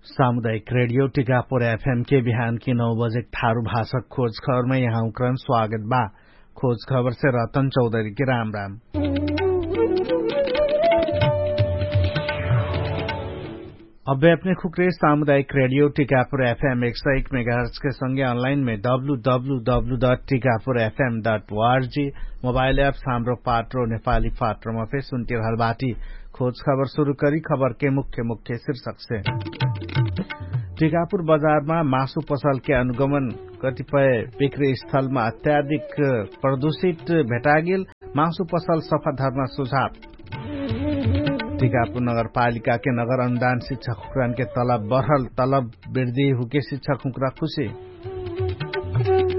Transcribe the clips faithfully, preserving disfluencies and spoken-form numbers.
सामुदायिक रेडियो टिकापुर एफएम के बिहान कि नौ बजेक थारु भाषक खोज खबरमै यहाँ उक्रन स्वागत बा। खोज खबरसे रतन चौधरी के राम राम। अब्बे अपने खुक्रे सामुदायिक रेडियो टिकापुर एफएम एक सय एक मेगाहर्च के संगे अनलाइन मे W W W dot Tikapur FM dot ORG mobile app Hamro Patro Nepali पाट्रोमा फे सुन्टिरहल बाटी। खोज खबर सुरु करी खबर के मुख्य मुख्य शीर्षक से। टिकापुर बजारमा मासु पसल के अनुगमन कतिपय बिक्री स्थलमा अत्याधिक प्रदूषित भेटागेल। मासु पसल सफा धर्ना सुझाव। टिकापुर नगरपालिका के नगर अनुदान शिक्षक हुक्रान के तलब बढल तलब वृद्धि हुके शिक्षक हुक्रा खुशी।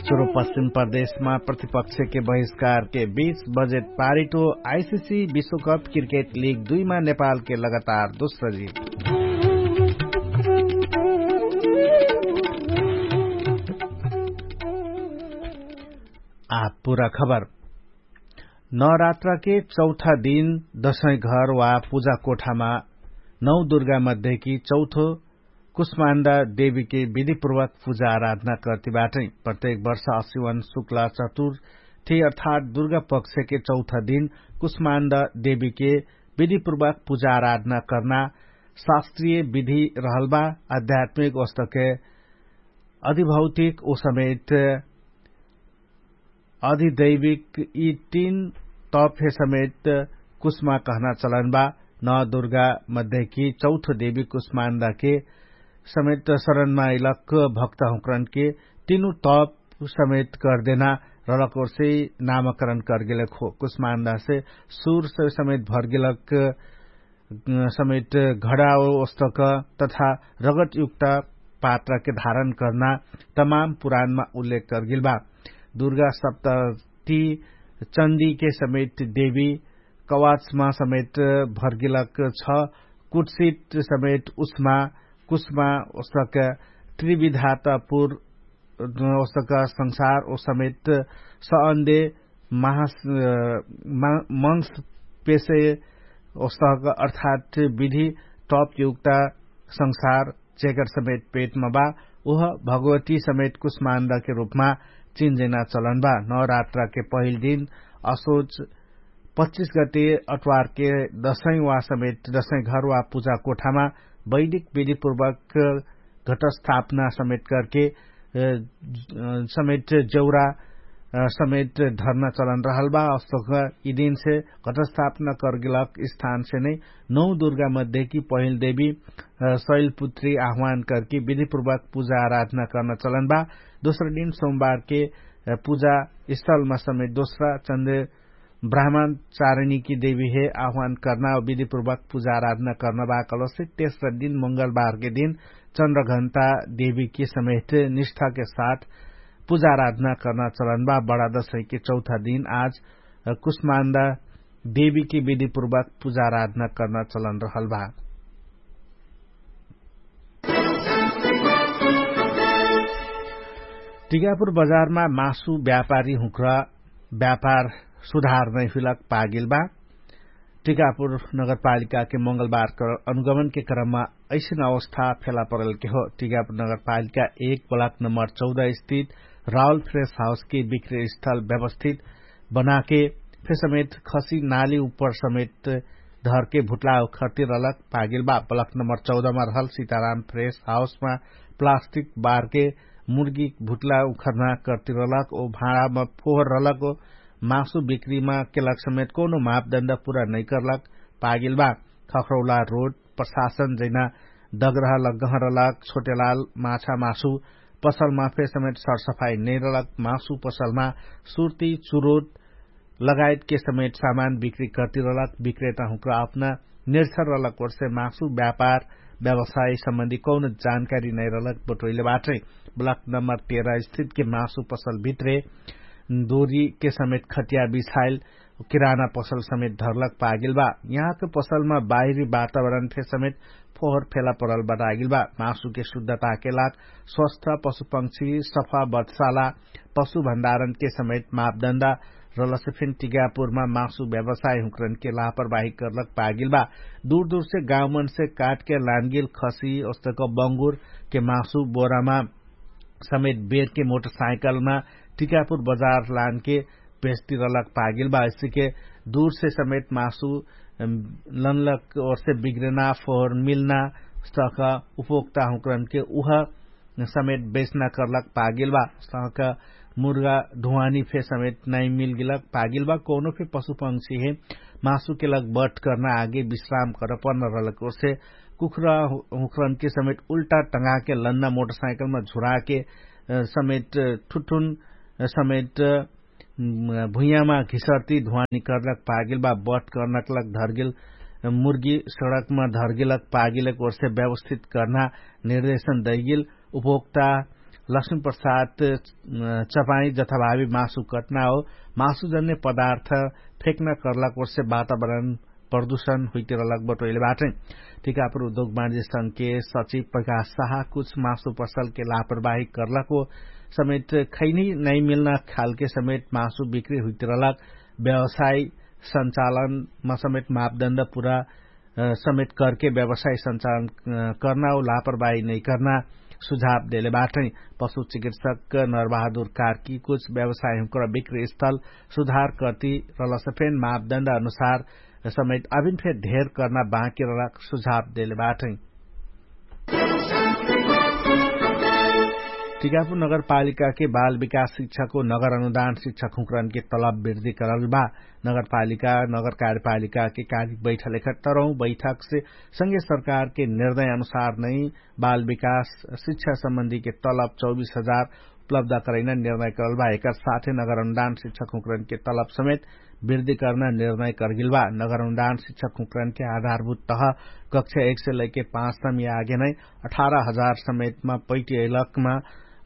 सुरु पश्चिम प्रदेशमा प्रतिपक्ष के बहिष्कार के बीच बजेट पारिटो आइसिसी विश्वकप क्रिकेट लिग दुईमा नेपाल के लगातार दोस्रो जित। आ पुरा खबर। नवरात्राके चौथा दिन दशैं घर वा पुजा कोठामा नौ दुर्गा मध्येकी चौथो कुष्मान्दा देवीके विधिपूर्वक पुजा आराधना कर्ति बाटै। प्रत्येक वर्ष असिवन शुक्ला चतुर्थी अर्थात् दुर्गा पक्षके चौथा दिन कुष्मान्दा देवीके विधिपूर्वक पुजा आराधना कर्ना शास्त्रीय विधि रहलबा। आध्यात्मिक ओस्तके अधिभौतिक ओ समेत अधिदैविक यि तीन तपहे समेत कुष्मा कहना चलन बा। नौ दुर्गा मध्येकी चौथो देवी कुष्मान्दाके समेत शरणमा इलक भक्त हुँकरनके तीनु तप समेत करदेना रलक ओर्से नामकरण करगेलक हो। कुष्मान्दासे सुरसे समेत भरगेलक समेत घडाओ ओस्तक तथा रगतयुक्त पात्रके धारण कर्ना तमाम पुराणमा उल्लेख करगेल बा। दुर्गा सप्तती चन्दीके समेत देवी कवाचमा समेत भरगेलक छ। कुटसित समेत उष्मा कुष्मा ओस्तक त्रिविधातपुर ओस्तक संसार ओ समेत सअन्दे महास मंस पेसे ओस्तक अर्थात् विधि तपयुक्त संसार जेकर समेत पेटमा बा उह भगवती समेत कुष्मान्दाके रूपमा चिन्जेना चलन बा। नवरात्राके पहिल दिन असोच पच्चिस गते अट्वारके दसैं वा समेत दसैं घर वा पुजा कोठामा वैदिक विधिपूर्वक घटस्थापना समेत करके समेत जौरा समेत धर्ना चलन रहल बा। अस्तक यि दिनसे घटस्थापना करगेलक स्थानसे नै नौ दुर्गा मध्येकी पहिल देवी शैलपुत्री आह्वान करके विधिपूर्वक पुजा आराधना कर्ना चलन बा। दोस्रा दिन सोमबारके पुजा स्थलमा समेत दोस्रा चन्द्र ब्राह्मण चारणीकी देवीहे आह्वान कर्ना विधिपूर्वक पुजा आराधना कर्ना बा। कलसे तेस्रा दिन मंगलबारके दिन चन्द्रघण्टा देवीकी समेत निष्ठाके साथ पुजा आराधना कर्ना चलन बा। बडा दसैँके चौथा दिन आज कुष्मान्दा देवीकी विधिपूर्वक पुजा आराधना कर्ना चलन रहल बा। टिकापुर बजारमा मासु व्यापारी हुँक्रा व्यापार सुधार नै हुइलक पागेल बा। टिकापुर नगरपालिकाके मंगलबारके अनुगमनके क्रममा ऐसन अवस्था फेला परलके हो। टिकापुर नगरपालिका एक ब्लक नम्बर चौध स्थित राहुल फ्रेस हाउसके विक्री स्थल व्यवस्थित बनाके फेसमेत खसी नाली उपर समेत धरके भुट्ला उखर्ति रहलक पागेल बा। ब्लक नम्बर चौध मा रहल सीताराम फ्रेस हाउसमा प्लास्टिक बारके मुर्गी भुट्ला उखर्ना कर्ति रहलक ओ भाँडामा फोहर रहलक ओ मासु बिक्रीमा केलक समेत कौनो मापदण्ड पुरा नैकर्लक पागेल बा। खखरौला रोड प्रशासन जैना दगरह लग्गह रहलक छोटेलाल माछा मासु पसलमा फेसमेत सरसफाई नैरलक मासु पसलमा सुर्ती चुरोट लगायतके समेत सामान बिक्री कर्ति रहलक। बिक्रेता हुँक्रा अपना निर्सर रहलक ओर्से मासु व्यापार व्यवसाय सम्बन्धी कौनो जानकारी नैरलक बटोइले बाटै। ब्लक नम्बर तेह्र स्थितके मासु पसल भित्रे दोरीके समेत खटिया बिछाइल किराना पसल समेत धरलक पागेल बा। यहाँके पसलमा बाहिरी वातावरण फे समेत फोहर फेला परल बतागेल बा। मासुके शुद्धताके लाग स्वस्थ पशुपंक्षी सफा बटसाला पशु भण्डारणके समेत मापदण्डा रलसे फेन टिकापुरमा मासु व्यवसाय हुँक्रनके लापरवाही कर्लक पागेल बा। दुरदुरसे गाउँमनसे काटके लानगेल खसी ओस्तक बङ्गुरके मासु बोरामा समेत बेरके मोटरसाइकलमा टिकापुर बजार लानके बेचतिरलक पागेल बा। अइसेके दुरसे समेत मासु लनलक ओरसे बिग्रेना फोहर मिल्ना सख उपभोक्ता हुँक्रनके उह समेत बेच्ना कर्लक पागेल बा। सख मुर्गा ढुवानी फे समेत नाइ मिलगेलक पागेल बा। कौनो फे पशुपंक्षी हे मासुके लग बट कर्ना आगे विश्राम कर पर्न रहलक ओरसे कुखुरा हुँक्रनके समेत उल्टा टंगाके लन्ना मोटरसाइकलमा झुराके समेत ठुठुन समेत भुइयामा घिसर्ती धुवानी कर्लक पागेल बा। बट कर्नक लग धर्गेल मुर्गी सडकमा धर्गेलक पागेलक ओरसे व्यवस्थित कर्ना निर्देशन दैगेल उपभोक्ता लक्ष्मी प्रसाद चपाई जथाभावी मासु कटना हो। मासुजन्य पदार्थ फेक्न कर्लक ओरसे वातावरण प्रदूषण हुइतिरलक बटोइले बाटै। टिकापुर उद्योग बाणिज्य संघके सचिव प्रकाश साहा कुछ मासु पसलके लापरवाही कर्लक हो समेत खैनी नै मिल्ना खालके समेत मासु बिक्री हुइतिरलक व्यवसाय संचालनमा समेत मापदण्ड पुरा समेत करके व्यवसाय संचालन कर्ना हो लापरवाही नै कर्ना सुझाव देले बाटै। पशु चिकित्सक नरबहादुर कार्की कुछ व्यवसाय हुँकर बिक्री स्थल सुधार कर्ती रलसफेन मापदण्ड अनुसार समेत अभिन फेर ढेर कर्ना बाँकी रलक सुझाव देले बाटै। टिकापुर नगरपालिकाके बाल विकास शिक्षाको नगर अनुदान शिक्षक हुँकरनके तलब वृद्धि करल बा। नगरपालिका नगर कार्यपालिकाके कालिक बैठल एखट्टरौँ बैठकसे संगे सरकारके निर्णय अनुसार नै बाल विकास शिक्षा सम्बन्धीके तलब चौबीस हजार उपलब्ध करैना निर्णय करल बा। एकर साथे नगर अनुदान शिक्षक हुँकरनके तलब समेत वृद्धि कर्ना निर्णय करगेल बा। नगर अनुदान शिक्षक हुँकरनके आधारभूत तह कक्षा एक से लैके पाँच सम्म आगे नै अठारह हजार समेतमा पैटी अइलकमा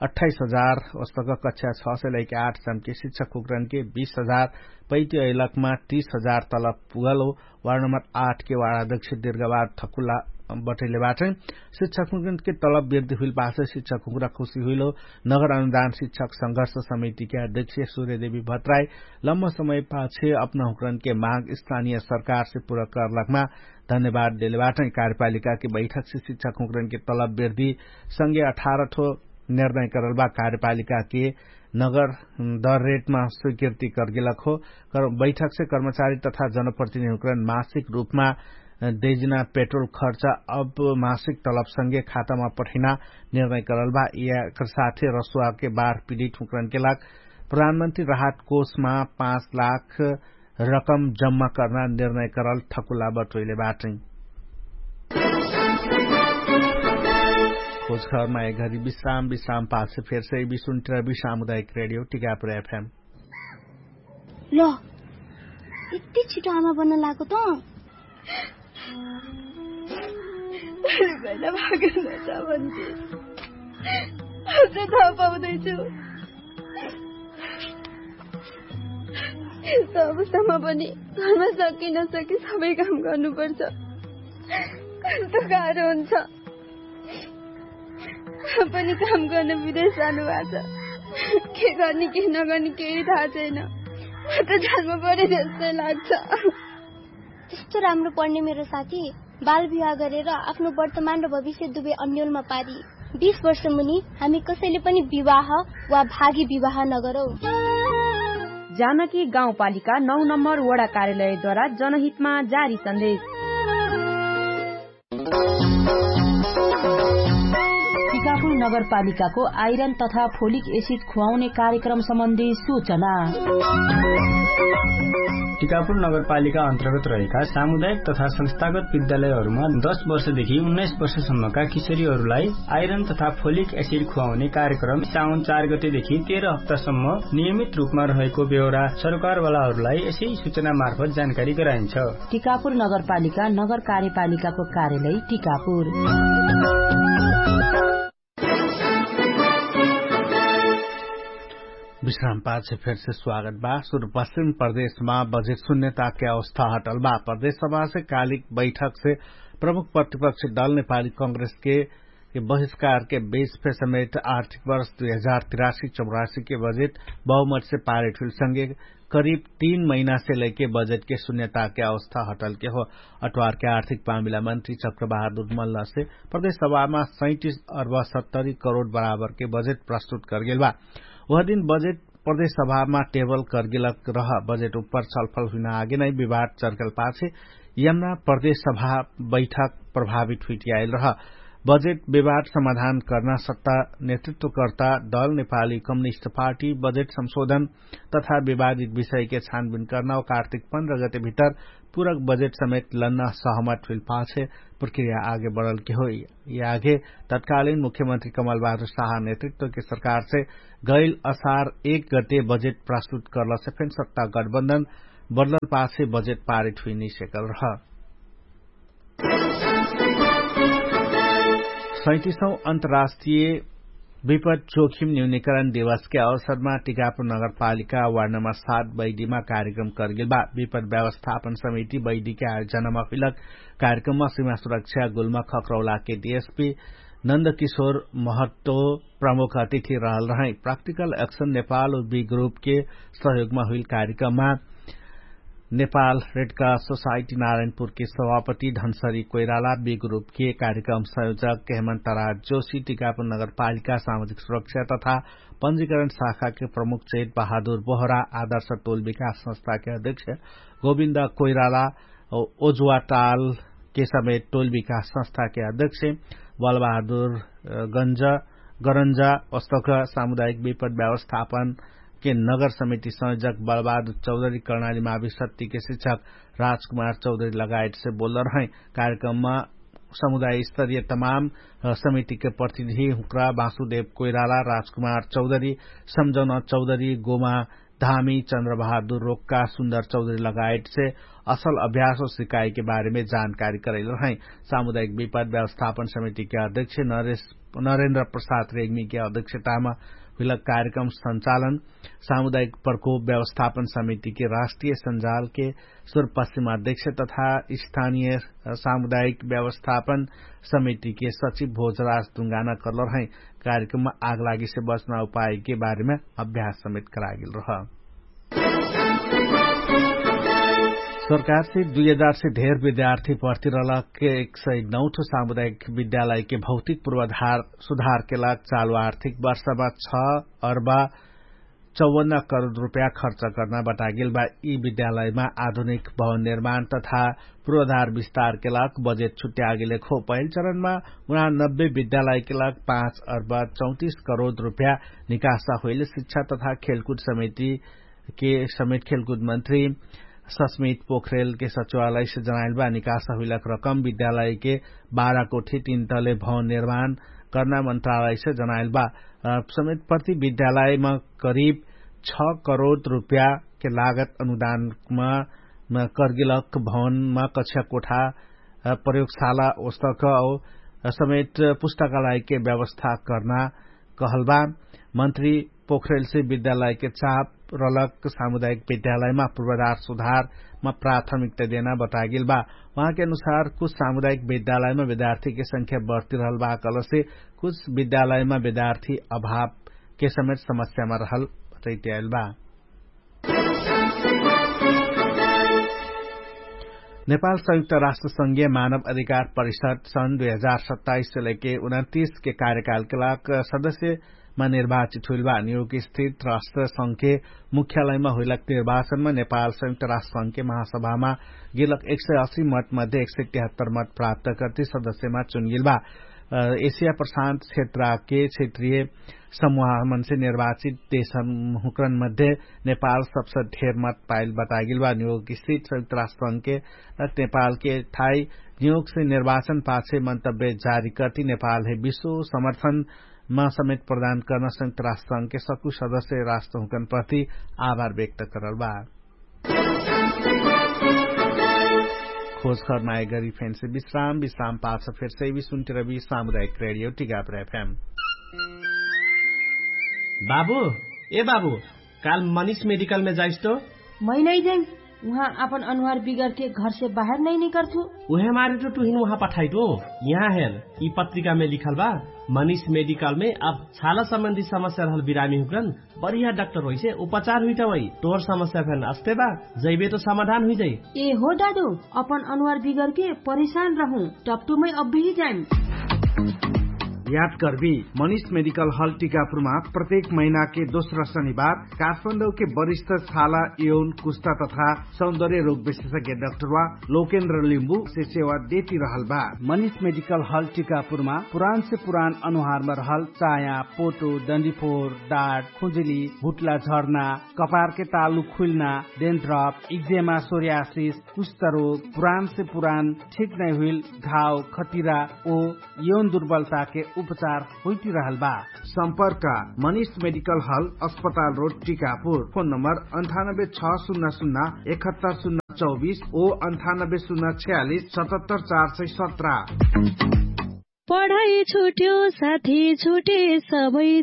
अठाइस हजार वस्तक कक्षा छ से लैके आठ सम्म के शिक्षक हुँकरनके बीस हजार पैटी अइलकमा तीस हजार तलब पुगल हो। वार्ड नम्बर आठ के वार्ड अध्यक्ष दीर्घवार ठकुला बटैले बाटै। शिक्षक हुँकरनके तलब वृद्धि हुइल पासे शिक्षक हुँकरा खुशी हुइल हो। नगर अनुदान शिक्षक संघर्ष समितिके अध्यक्ष सूर्यदेवी भट्टराई लम्बा समय पाछे अपना हुँकरनके माग स्थानीय सरकारसे पुरा करलकमा धन्यवाद देले बाटै। कार्यपालिकाके बैठकसे शिक्षक हुँकरनके तलब वृद्धि संगे अठारह ठो निर्णय करल बा। कार्यपालिकाके नगर दर रेटमा स्वीकृति करगेलक हो। बैठकसे कर्मचारी तथा जनप्रतिनिधि हुँकरन मासिक रूपमा देजिना पेट्रोल खर्च अब मासिक तलब संगे खातामा पठैना निर्णय करल बा। यकर साथे रसुवाके बार पिडिट हुँकरनके लाग प्रधानमन्त्री राहत कोषमा पाँच लाख रकम जम्मा कर्ना निर्णय करल ठकुला बटोइले बाटै। खोजखबरमा एघरी विश्राम विश्राम पाछे फेरसे बिसुन्टर विश्राम उदायक रेडियो टिकापुर एफएम। ल यति छिटो आमा बन्न लागो त। भैला भागेन त भन्थे। अझ थाहा पाउँदैछु। यस्तो अवस्थामा पनि घरमा सकिन सके सबै काम गर्नुपर्छ। कस्तो गाह्रो हुन्छ। पनि काम गर्न विदेश जानुभएको छ। के गर्ने के नगर्ने केही थाहा छैन। म त झ्यालमा परे जस्तै लाग्छ। त्यस्तो राम्रो पढ्ने मेरो साथी बाल विवाह गरेर आफ्नो वर्तमान र भविष्य दुवै अन्यलमा पारी। बीस वर्ष मुनि हामी कसैले पनि विवाह वा भागी विवाह नगरौँ। जानकी गाउँपालिका नौ नम्बर वडा कार्यालयद्वारा जनहितमा जारी सन्देश। टिकापुर नगरपालिकाको आइरन तथा फोलिक एसिड खुवाउने कार्यक्रम सम्बन्धी सूचना। टिकापुर नगरपालिका अन्तर्गत रहेका सामुदायिक तथा संस्थागत विद्यालयहरूमा दस वर्षदेखि उन्नाइस वर्षसम्मका किशोरीहरूलाई आइरन तथा फोलिक एसिड खुवाउने कार्यक्रम साउन चार गतेदेखि तेह्र हप्तासम्म नियमित रूपमा रहेको बेहोरा सरकारवालाहरूलाई यसै सूचना मार्फत जानकारी गराइन्छ। टिकापुर नगरपालिका नगर कार्यपालिकाको कार्यालय टिकापुर। विश्राम पाछे फेरसे स्वागत बा। सुरुपश्चिम प्रदेशमा बजेट सुन्यताके अवस्था हटल बा। प्रदेश सभासे कालिक बैठकसे प्रमुख प्रतिपक्ष दल नेपाली कांग्रेसके बहिष्कारके बेस फे समेत आर्थिक वर्ष दुई हजार तिरासी चौरासीके बजेट बहुमतसे पारित हुइलसँगे करिब तीन महिनासे लैके बजेटके सुन्यताके अवस्था हटलके हो। अट्वारके आर्थिक मामिला मन्त्री चक्रबहादुर मल्लसे प्रदेश सभामा सैतिस अर्ब सत्तरी करोड बराबरके बजेट प्रस्तुत करगेल बा। उह दिन बजेट प्रदेश सभामा टेबल करगेलक रह बजेट उप्पर छलफल हुइना आगे नै विवाद चर्कल पाछे यमना प्रदेश सभा बैठक प्रभावित हुइटियाइल रह। बजेट विवाद समाधान कर्ना सत्ता नेतृत्वकर्ता दल नेपाली कम्युनिस्ट पार्टी बजेट संशोधन तथा विवादित विषयके छानबिन कर्ना ओ कार्तिक पन्ध्र गते भितर पुरक बजेट समेत लन्न सहमत हुइल पाछे प्रक्रिया आगे बढलके होइ। यि आगे तत्कालिन मुख्यमन्त्री कमलबहादुर साहा नेतृत्वके सरकारसे गैल असार एक गते बजेट प्रस्तुत कर्लसे फेन सत्ता गठबन्धन बदलल पाछे बजेट पारित हुइनै सेकल रह। सैतिसौँ अन्तर्राष्ट्रिय विपद जोखिम न्यूनिकरण दिवसके अवसरमा टिकापुर नगरपालिका वार्डमा सात बैडीमा कार्यक्रम करगेल बा। विपद व्यवस्थापन समिति बैडीके आयोजनमा हुइलक कार्यक्रममा सिमा सुरक्षा गुल्मा खक्रौलाके डिएसपी नन्दकिशोर महत्व प्रमुख अतिथि रहल रहै। प्राक्टिकल एक्सन नेपाल उ बी ग्रुपके सहयोगमा हुइल कार्यक्रममा नेपाल रेडका सोसाइटी नारायणपुरके सभापति धनसरी कोइराला बी ग्रुपके कार्यक्रम संयोजक केहमन्त राज जोशी टिकापुर नगरपालिका सामाजिक सुरक्षा तथा पञ्जीकरण शाखाके प्रमुख चेत बहादुर बोहरा आदर्श टोल विकास संस्थाके अध्यक्ष गोविन्द कोइराला ओजुवाटालके समेत टोल विकास संस्थाके अध्यक्ष बलबहादुर गरन्ज ओस्तक सामुदायिक विपद व्यवस्थापनके नगर समिति संयोजक बलबहादुर चौधरी कर्णाली माविसत्तिके शिक्षक राजकुमार चौधरी लगायतसे बोल्ल रहै। कार्यक्रममा समुदाय स्तरीय तमाम समितिके प्रतिनिधि हुक्रा बासुदेव कोइराला राजकुमार चौधरी सम्झौना चौधरी गोमा धामी चन्द्रबहादुर रोक्का सुन्दर चौधरी लगायतसे असल अभ्यास सिकाइके बारेमे जानकारी करैल रहै। सामुदायिक विपद व्यवस्थापन समितिके अध्यक्ष नरेन्द्र प्रसाद रेग्मीके अध्यक्षतामा हुइलक कार्यक्रम सञ्चालन सामुदायिक प्रकोप व्यवस्थापन समितिके राष्ट्रिय सञ्जालके सुरपश्चिम अध्यक्ष तथा स्थानिय सामुदायिक व्यवस्थापन समितिके सचिव भोजराज दुङ्गाना कर्ल रहै। कार्यक्रममा आगलागीसे बच्ना उपायके बारेमा अभ्यास समेत करागेल रह। सरकारसे दुई हजारसे धेर विद्यार्थी भर्ती रहलक एक सय नौठो सामुदायिक विद्यालयके भौतिक पूर्वाधार सुधारके लाग चालु आर्थिक वर्षमा छ अर्बा चौवन्न करोड रुप्या खर्च कर्ना बतागेल बा। यि विद्यालयमा आधुनिक भवन निर्माण तथा पूर्वाधार विस्तारके लाग बजेट छुट्यागेले खो पहिल चरणमा उना नब्बे विद्यालयके लाग पाँच अर्बा चौतिस करोड रुप्या निकासा होइले शिक्षा तथा खेलकुट समितिके समेत खेलकुट मन्त्री सस्मित पोखरेलके सचिवालयसे जनाइल बा। निकासा हुइलक रकम विद्यालयके बाह्र कोठी तीन तले भवन निर्माण कर्ना मन्त्रालयसे जनाइल बा। समेत प्रति विद्यालयमा करिब छ करोड रुप्याके लागत अनुदानमा कर्गिलक भवनमा कक्षा कोठा प्रयोगशाला ओस्तक समेत पुस्तकालयके व्यवस्था कर्ना कहल बा। मन्त्री पोखरेलसे विद्यालयके चाप रलक सामुदायिक विद्यालयमा पूर्वाधार सुधारमा प्राथमिकता देना बतागेल बा। उहाँके अनुसार कुछ सामुदायिक विद्यालयमा विद्यार्थीके संख्या बढ्ती रहल बा कहलसे कुछ विद्यालयमा विद्यार्थी अभावके समेत समस्यामा रहल बतैत्याइल बा। नेपाल संयुक्त राष्ट्र संघीय मानव अधिकार परिषद सन् दुई हजार सत्ताइस से लैके उनन्तिसके कार्यकालके लाग सदस्यमा निर्वाचित हुइल बा। न्युयोर्क स्थित राष्ट्र संघके मुख्यालयमा हुइलक निर्वाचनमा नेपाल संयुक्त राष्ट्र संघके महासभामा गेलक एक सय असी मत मध्ये एक सय तिहत्तर मत प्राप्त करती सदस्यमा चुनगेल बा। एसिया प्रशान्त क्षेत्रके क्षेत्रीय समूहमनसे निर्वाचित देशहुँकरन मध्ये नेपाल सबसे ढेर मत पाइल बतागेल बा। न्युयोर्क स्थित संयुक्त राष्ट्र संघके नेपालके थाई न्युयोर्कसे निर्वाचन पाछे मन्तव्य जारी करती नेपालहे विश्व समर्थनमा समेत प्रदान कर्न संयुक्त राष्ट्र संघके सकु सदस्य राष्ट्रहुँकन प्रति आभार व्यक्त करल बा। खोज खर नाय गरी फेन्से विश्राम विश्राम पाछ फेर्से विसुन्तिर बि सामुदायिक रेडियो टिकापुर एफएम। बाबु, ए बाबु, काल मनिष मेडिकलमे जाइस्तो? मै नै जाइस। उहाँ आपन अनुहार बिगरके घरसे बाहेर नै निकरथु। उहे मारे त टुहिन उहाँ पठाइटु। यहाँ हेर, यि पत्रिकामे लिखल बा, मनिष मेडिकलमे अब छाला सम्बन्धी समस्या रहल बिरामी हुक्रन बढिया डाक्टर होइसे उपचार हुइटा वै। तोर समस्या फेन अस्ते बा, जैबे त समाधान हुइजाइ। ए हो दादु, अपन अनुहार बिगरके परेशान रहु, टप्टुमै अब्बेही जाइम। याद कर्बी, मनिष मेडिकल हल टिकापुरमा प्रत्येक महिनाके दोस्रा शनिबार काठमाडौके वरिष्ठ छाला, यौन, कुस्ता तथा सौन्दर्य रोग विशेषज्ञ डाक्टरवा लोकेन्द्र लिम्बुसे सेवा देति रहल बा। मनिष मेडिकल हल टिकापुरमा पुरानसे पुरान अनुहारमा रहल चाया, पोटो, डन्डिफोर, डाट, खुजुली, भुट्ला झर्ना, कपारके तालु खुइल्ना, डेन्ड्रप, इक्जेमा, सोर्यासिस, कुष्ठरोग, पुरानसे पुरान ठिक नै हुइल घाव, खटिरा ओ यौन दुर्बलताके उपचार होइतिरहल बा। सम्पर्क, मनिष मेडिकल हल, अस्पताल रोड, टिकापुर। फोन नम्बर अन्ठानब्बे छ सुन्ना सुन्ना एकहत्तर सुन्ना चौबिस ओ अन्ठानब्बे सुन्ना छयालिस सतहत्तर चार सय सत्र। पढाइ छुट्यो साथी छुटे सबै